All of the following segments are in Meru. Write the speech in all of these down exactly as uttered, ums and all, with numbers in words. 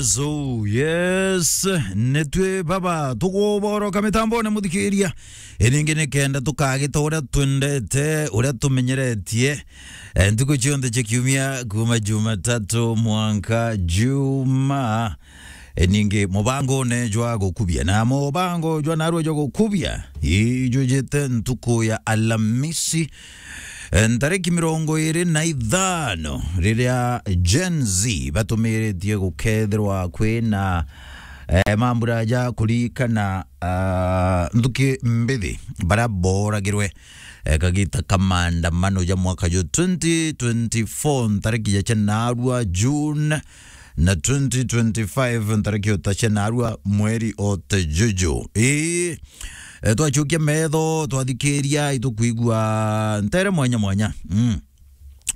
So, yes, nitwi baba tuguboroka mitambone, muthikiria. Iningi ni kenda tukagita uria twendete, uria tumenyeretie, eh, ntuku cionthe cia kiumia, kuma Jumatatu mwanka Juma. E, ningi mubangone jwa gukubia, na mubango jwa narua jwa gukubia ijujite ntuku ya Alamisi, e, ntariki mirongo iri na ithano, riria Gen Z batumiritie gukethirwa kwina, e, mambura ja kurikana, a, nthuki mbithi baria boragirwe, e, kagita ka maandamano ja mwaka jwa twenty twenty-four, ntariki ja cia narua June, na twenty twenty-five ntariki o ta cia narua mweri o ta juju. Ii, e, twachukia metho, twathikiria, itukwigua ntere mwanya mwanya. Mm.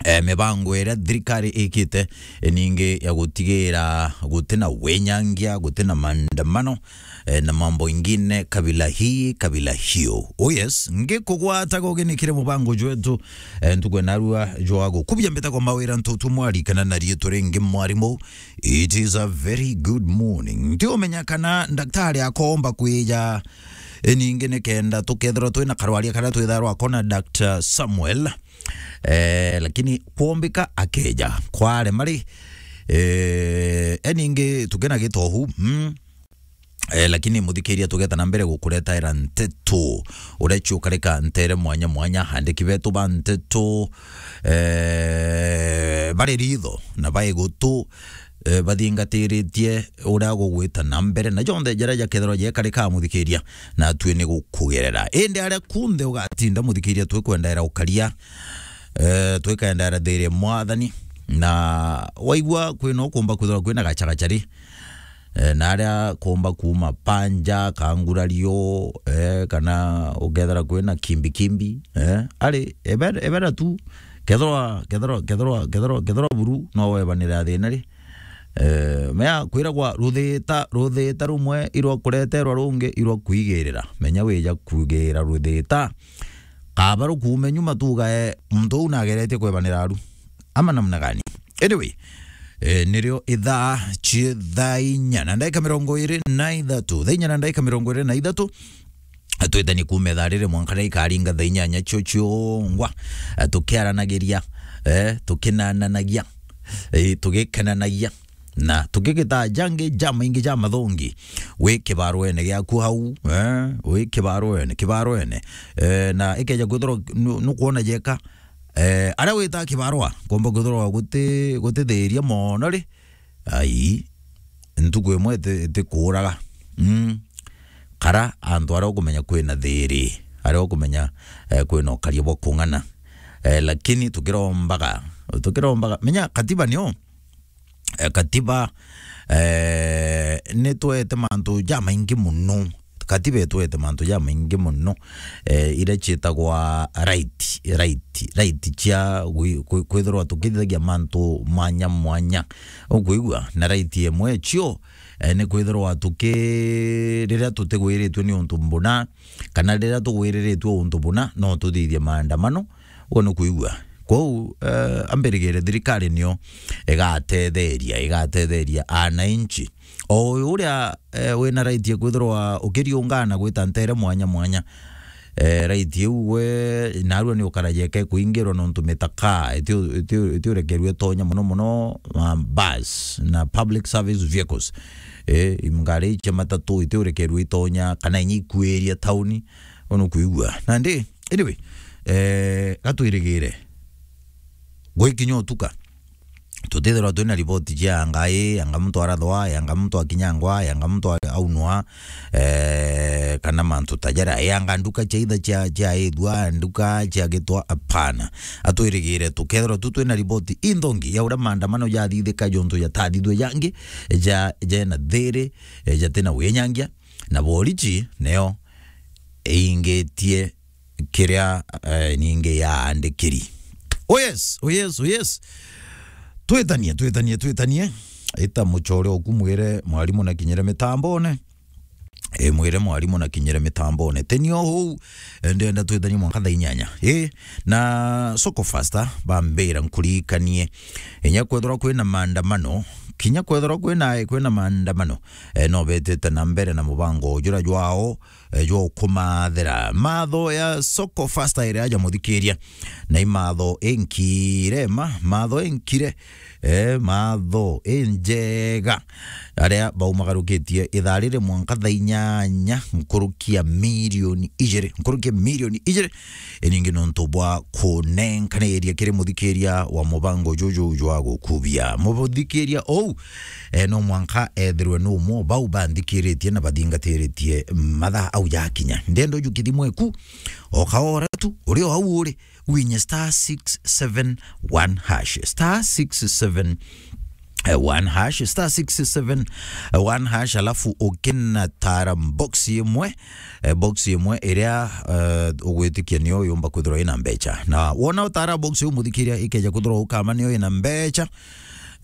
E, mibango iria thirikari ikite, e, ningi ya gutigira gutina winyangia, gutina maandamano, e, na mambo ingine kabila hii, kabila hiyo. Oh yes, ngikugwata gogenikire mubango jwetu, e, ntuku ya narua jwa gukubia mbita kwa mawira ntutu mwari kana na riitwa ringi mwarimu. It is a very good morning. Ntiumenya kana ndaktari akomba kwija, e, ningi ni kenda tukethirwa twina karwaria karia twitharwa akona Doctor Samuel. E, lakini kwombika akeja kwarema ri, e, e, ningi tukina gitohu, mm. E, lakini muthikiria, tugeta na mbere gukuretaira nteto uria ciukarika ntere mwanya mwanya, andiki betu ba nteto, e, bari ritho na baigutu, e, bathingatiritie uria gugwita na mbere, na jonthe jaria jakethirwa jekarika, muthikiria, na atui ni gukugerera. Indi aria kunthe ugatinda, muthikiria, twikwendaira ukaria, e, twikendera thiri mwathani, na waigua kwina ukumba kwithirwa kwina gachagachari, e, na aria kumba kuma panja, kangurario, e, kana ukethira kwina kimbi kimbi, e, ari ebera, ebera tu, kethirwa, kethirwa, kethirwa, kethirwa, kethirwa buru no webanira thina ri, e, mea kwiragwa ruthita, ruthita rumwe irwa kureterwa rungi irwa kwigirira, menya wija kugira ruthita, kaba rukuume nyuma tugae muntu uu nageretie kwebanira aru. Ama namna gani? Anyway, e, nirio ithaa cie thaa inya na ndaika mirongo iri na ithatu. Thaa inya na ndaika mirongo iri na ithatu. Twitanie kuuma ithaa riri mwanka riria ikaringa thaa inyanya cio ciongwa, e, tukiaranagiria, e, tukinananagia, e, tugikenanagia, na tukigita jangi jamaingi ja mathongi. Wi kibaroene giaku hau, eh, wi kibaroene, kibaroene. Eh, na ikeja kwithirwa nu-, nukwona jeka, eh, aria wita kibarwa, komba kwithirwa guti-, gutithiria mono ri, ai, ntuku imwe iti-, itikuuraga. Mm. Kara antu aria ukumenya kwina thiri, aria ukumenya, eh, kwina ukaria bwa kung'ana. Eh, lakini tukirombaga, tukirombaga, menya katiba nio, eh, katiba, eh, nitwete mantu jamaingi muno. Katiba itwete mantu jamaingi muno, eh, iria ciitagwa right, right, right cia gwi-, kwi-, kwithirwa tukithithagia mantu mwanya mwanya. Ukwigua? Na right imwe cio, eh, ni kwithirwa tuki-, riria tutigwiritue ni untu mbuna, kana riria tugwiriritue untu buna, no tuthithie maandamano. Uguo ni kwigua. Kwou, eh, ambirigire thirikari nio igatetheria, igatetheria ananchi. O uyu uria, eh, wina right ya kwithirwa ukiriungana gwita ntere mwanya mwanya. Eh, right iu we, narua ni ukaraja ike kuingirwa nontu mitaka, itio, itio, itio rekerua itonya muno muno, um, bus na public service vehicles. Eh, ngari cia matatu itio rekerua itonya, kana inya ikuiria tauni, unukwigua. Nandi, anyway, eh, gatwirigire. Gwikinya utuka, tutithirwa twina riboti cia yanga ii, yanga muntu arathwa, yanga muntu akinyangwa, yanga muntu a-, aunwa, eh, kana mantu ta jaria. Yanga nduka cia itha cia, cia ithua, nduka cia gitwa, apana. Atwirigire tukethirwa tu twina riboti inthongi ya uria maandamano jathithika juntu jatathithwe jangi, ja, jena thiri, eh, jatina winyangia, na borichi neo ingitie kiria, eh, ningi yaandikiri. Oh yes, oh yes, oh yes. Twitanie, twitanie, twitanie. Ita muchore oku mwire mwarimu na kinyire mitambone. E, mwire mwarimu na kinyire mitambone. Teni o huu, e, ndenda twithanie mwanka thaa inyanya. E, na Soko Faster, bambira nkuririkanie. Inya kwethirwa kwina maandamano, kinya kwethirwa kwina, kwina maandamano, e, no betite na mbere na mubango jura jwao, e, jwa ukumathira. Matho ya Soko Faster iri aja muthikiria. Na imatho inkire ma, matho inkire, e, matho injega. Aria baumagarukitie ithaa riri mwanka thaa inyanya, nkuruki ya milioni ijiri, nkuruki ya milioni ijiri, iningi nontu bwa kunenkaniria kiri muthikiria wa mubango juju jwa gukubia. Muthikiria ou, e, no mwanka ethirwe ni umwe bau banthikiritie na bathingatiritie mathaa au jakinya. Ndenda uju kithimo iku, o kaora tu, uri o au uri, winye star six seven one hash, star six seven one hash, star six seven one hash, alafu ukinatara box imwe, e, box imwe iria, e, ugwitikia niyo yumba kwithirwa ina mbecha. Na wona utara box iu muthikiria ikeja kwithirwa ukama niyo ina mbecha,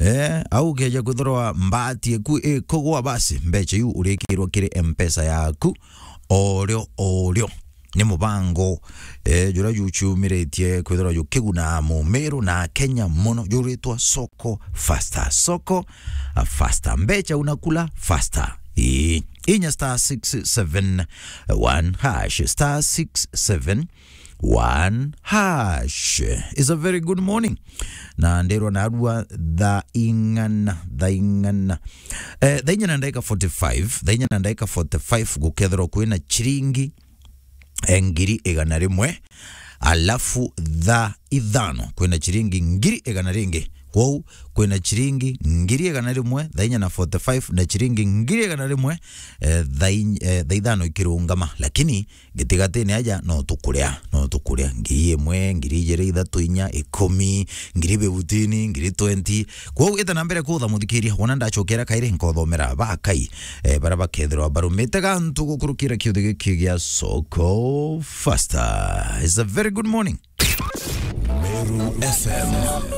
e, au ukeja kwithirwa mbati iku ikugwa, basi mbecha iu urikirwa kiri M-Pesa yaku orio orio. Ni mubango, e, jura juciumiritie kwithirwa jukiguna Mumiru na Kenya mono, juritwa Soko Faster. Soko, a, Faster. Mbecha unakula faster. Ii. Inya star six seven one hash, star six seven one hash. It's a very good morning. Na ndirwa narua thaa ing'ana, thaa ing'ana. E, thaa inya na ndagika forty-five, thaa inya na ndagika forty-five gukethirwa kwina chiringi e, ngiri igana rimwe, alafu thaa ithano kwina chiringi ngiri igana ringi. Kwou kwina chiringi ngiri igana rimwe thaa inya na forty-five na chiringi ngiri igana rimwe, e, thaa in-, e, thaa ithano ikirungama. Lakini gitigatini aja no tukuria, no tukuria. Ngiri imwe, ngiri ijiri, ithatu, inya, ikumi, ngiri fifteen, ngiri twenty. Kwou ita na mbere kutha muthikiria, wona ndachokera kairi nkothomera bakai, e, bara bakethirwa barumite gantu gukurukira kiuthi giki gia Soko Faster. It's a very good morning. Meru F M.